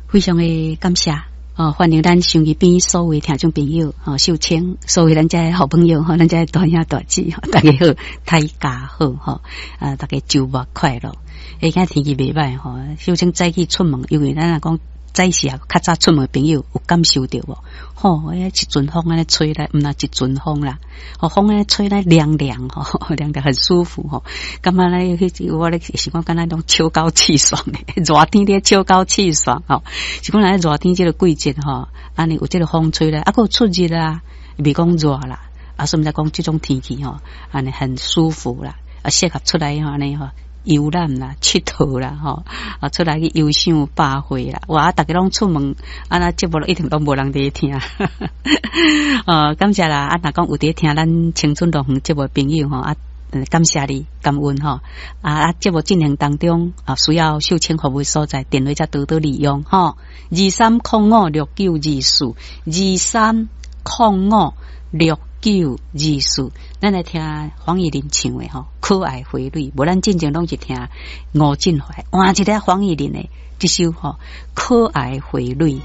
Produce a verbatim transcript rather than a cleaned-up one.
非常的感謝。哦，歡迎咱收音機邊所有聽眾朋友，吼，秀清，所有咱遮好朋友，吼，咱遮大兄大姊，大家好，大家好，吼，啊，大家週末快樂。欸，今天氣袂䆀吼，秀清早起出門，因為咱若講早時啊，較早出門的朋友有感受著無？吼，欸，一陣風按呢吹來，毋若一陣風啦，吼，風按呢吹來涼涼吼，涼涼很舒服吼。感覺咧，彼我咧是講敢若種秋高氣爽的，熱天咧秋高氣爽吼。是講來熱天這個季節吼，按呢有這個風吹來，啊，閣有出熱啊，袂講熱啦，啊，所以才講這種天氣吼，按呢很舒服啦，啊，適合出來吼，按呢吼。遊覽啦，𨑨迌啦，吼啊，出來去遊賞百花啦，哇！逐家攏出門，啊，那節目一定攏無人佇聽，哦，感謝啦！啊，若講有佇聽咱青春樂園節目的朋友吼，啊，感謝你，感恩吼，啊啊！節目進行當中啊，需要秀清服務所在，電話才多多利用吼，二三空五六九二四，二三空五六九二四，咱來聽黃乙玲唱的吼，可愛花蕊。無咱進前攏是聽吳振懷，換一个黃乙玲的這首吼，可愛花蕊。